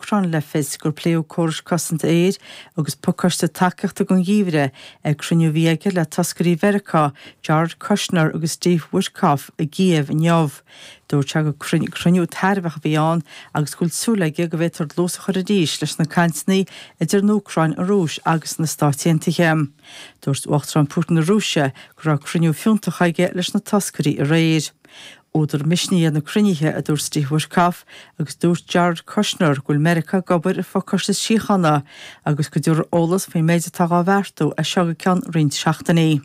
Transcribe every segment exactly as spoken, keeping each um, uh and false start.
hÚcráine le fios gur pléadh córais cosanta aeir agus pacáiste tacaíochta don gheimhreadh ag cruinniú a bhí aige le toscairí Mheiriceá, Jared Kushner agus Steve Witkoff i gCív inniu. Dúirt sé gur cruinniú tairbheach a bhí ann agus go bhfuil súil aige go bhféadfar dlús a chur arís leis na cainteanna idir an Úcráin, an Rúis agus na Stáit Aontaithe. Dúirt Uachtarán Putin na Rúise go raibh cruinniú fiúntach aige leis na toscairí aréir. Údar misnigh iad na cruinnithe a dúirt Steve Witkoff agus dúirt Jared Kushner go bhfuil Meiriceá ag obair ar phacáiste síochána agus go dtabharfar eolas faoin méid atá á bheartú as seo go ceann roinnt seachtainí.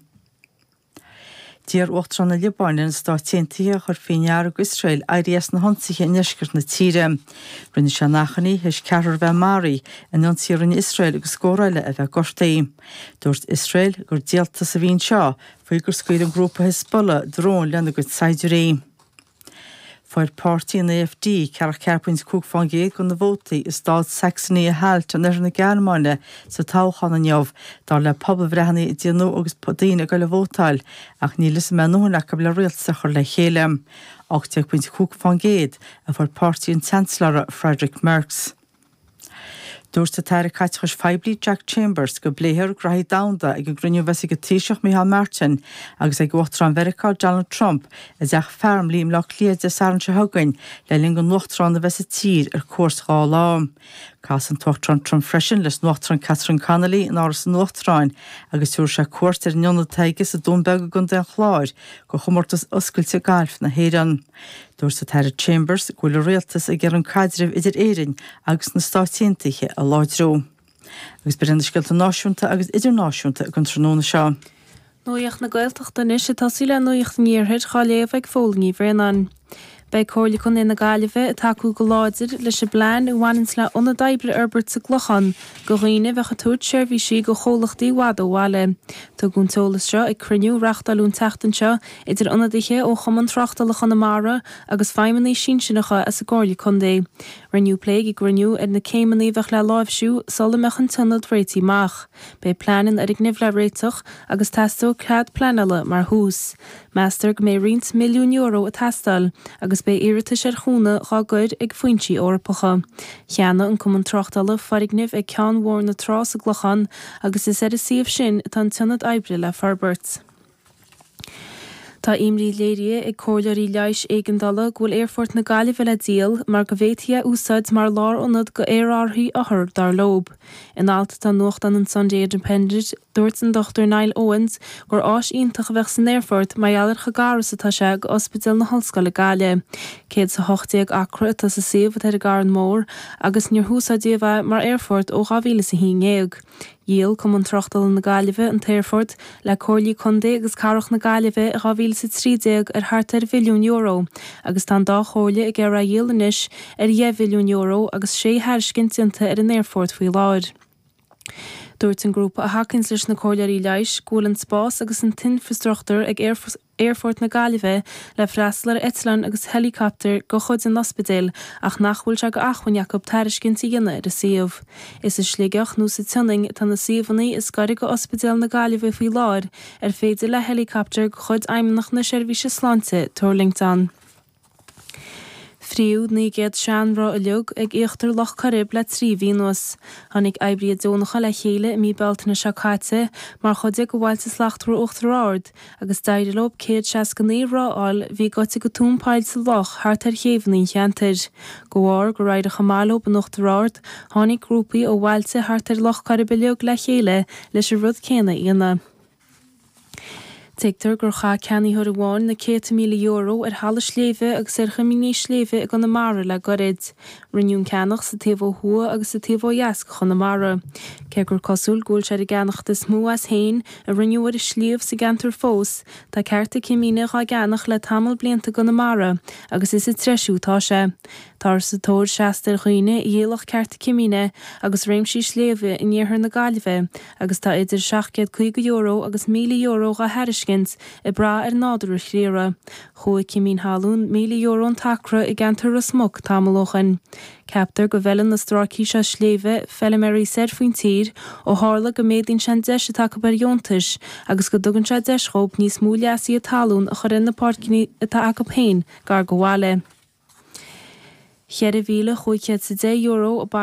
D'iarr Uachtarán na Liobáine ar na Stáit Aontaithe a chur faoi ndeara d'Iosrael éirí as na hionsaithe i ndeisceart na tíre. Rinne sé an achainí théis ceathrar a bheith maraithe in ionsaí a rinne Iosrael agus scór eile a bheith gortaithe. Dúirt Iosrael gur díoltas a bhí anseo faoi gur scaoil an grúpa Hezbollah dróin lena gcuid saighdiúirí. Fuair páirtí an AfD ceathracha ceathair pointe cúig faoin gcéad de na vótaí i stát Saxony-Anhalt in oirthear na Gearmáine sa toghchán inniu, dar le pobalbhreitheanna a déanadh agus daoine ag dul a vótáil, ach níl fhios an mbeidh a ndóthain acu le rialtas a chur le chéile. ocht déag pointe cúig faoin gcéad a fuair páirtí an tSeansailéara Friedrich Merz. Dúirt an tAire Caiteachais Phoiblí Jack Chambers go bpléifear graithí domhanda ag an gcruinniú a bheas ag an Taoiseach Micheál Martin agus ag Uachtarán Mheiriceá Donald Trump i dTeach Farmleigh i mBleá Cliath Dé Sathairn seo chugainn le linn don Uachtarán a bheith sa tír ar cuairt dhá lá. Casfaidh an tUachtarán Trump freisin leis an Uachtarán Catherine Connolly in Áras an Uachtaráin agus tabharfaidh sé cuairt ar an ionad atá aige sa Dún Beag i gContae an Chláir do chomórtas oscailte gailf na hÉireann. Dúirt an tAire Chambers go bhfuil a rialtas ag iarraidh an caidreamh idir Éirinn agus na Stáit Aontaithe a láidriú. Agus b'in na scéalta náisiúnta agus idirnáisiúnta don tráthnóna seo. Nuacht na Gaeltachta anois ag tosaí le Nuacht an Iarthair á léamh ag Fódhla Ní Bhraonáin. Beidh Comhairle Contae na Gaillimhe ag tacú go láidir leis an bplean a bhaineanns le ionad oibre a fhorbairt sa gClochán do dhaoine a bheadh ag tabhairt seirbhísí do chomhlachtaí i bhfad ó bhaile. Tugadh an t-eolas seo ag cruinniú a reáchtáladh an tseachtain seo idir ionadaithe ó Chumann Tráchtála Chonamara agus feidhmeannaigh sinsearacha as an gComhairle Contae. Rinneadh plé ag an gcruinniú ar na céimeanna a bheadh le láimhsiú sula mbeadh an t-ionad réitithe amach. Beidh plean an fhoirgnimh le réiteach agus teastóidh cead pleanála mar thús. Meastar go mbeidh roinnt milliún euro ag teastáil agus beidh iarratais ar chúnamh dhá gcur ag foinsí Eorpacha. Cheannaigh an Cumann Tráchtála foirgneamh ag Ceann Mhór na Trá sa gClochán agus is ar an suíomh sin atá an t-ionad oibre le forbairt. Tá imní léirithe ag comhairleoirí leighis éigeandála go bhfuil Aerfort na Gaillimhe le díol mar go bhféadfaí é a úsáid mar lárionad do aerárthaí othar, dar leo. In alt atá i nuachtán an Sunday Independent, dúirt an Dochtúir Niall Owens gur áis iontach a bheadh san aerfort mar gheall ar chomh gar is atá sé go Ospidéal na hOllscoile Gaillimh. Céad is a hocht déag acra atá sa suíomh atá ar an gCarn Mór agus níor húsáideadh é mar aerfort ó dhá mhíle is a haon déag. Dhíol Cumann Tráchtála na Gaillimhe an t-aerfort le Comhairlí Contae agus Cathrach na Gaillimhe i dhá mhíle is a trí déag ar thart ar mhilliún euro agus tá an dá chomhairle ag iarraidh é a dhíol anois ar dheich mhilliún euro agus sé thairiscint déanta ar an aerfort faoi láthair. Dúirt an grúpa a thacaíonns leis na comhairleoirí leighis go bhfuil an spás agus an t-infreastruchtúr ag Aerfort na Gaillimhe le freastal ar eitleáin agus heileacaptair de chuid an ospidéil ach nach bhfuil sé d'acmhainn acu tairiscint a dhéanamh ar an suíomh. Is i Sligeach nó sa tSionainn atá na suíomhanna is gaire go Ospidéal na Gaillimhe faoi láthair ar féidir le heileacaptar de chuid Fheidhmeannacht na Seirbhíse Sláinte tuirlingt ann. Fríodh naoi gcéad seanroth uilig ag íochtar Loch Coirib le trí mhí anuas. Tháinig oibrithe deonacha le chéile i mí Bealtaine seo caite mar chuid de Bhailte Slachtmhara Uachtar Ard agus d'éirigh leo céad seasca naoi roth a fháil a bhí goite go tóin poill sa loch thart ar chéibheanna an cheantair. De bharr gur éirigh chomh maith leo in Uachtar Ard, tháinig grúpaí ó bhailte thart ar Loch Coirib uilig le chéile leis an rud céanna a dhéanamh. Tuigtear gur chaith ceannaitheoir amháin na céadta míle euro ar thalamh sléibhe agus ar choimíní sléibhe i gConamara le gairid. Rinneadh an ceannach sa taobh ó thuaidh agus sa taobh ó dheas de Chonamara. Cé gur cosúil go bhfuil sé ar an gceannacht is mó as féin a rinneadh ar an sliabh sa gceantar fós, tá cearta cimíne dhá gceannach le tamall blianta i gConamara agus is ag treisiú atá sé. Táthar sa tóir seasta ar dhaoine a dhíolfadh cearta cimíne agus réimsí sléibhe in iarthar na Gaillimhe agus tá idir seacht gcéad caoga euro agus míle euro dhá thairiscint, ag brath ar nádúr an chriara. Chuaigh cimín thalún míle euro an t-acra i gceantar Ros Muc tamall ó shin. Ceaptar go bhfeileann na stráicí seo sléibhe feilméaraí soir faoin tír ó tharla go méadaíonn sé an deis atá acu ar dheontais agus go dtugann sé deis dhóibh níos mó leasaithe talún a chur ar na páirceanna atá acu féin gar do bhaile. Ceithre mhíle chúig chéad is a deich euro a bailíodh.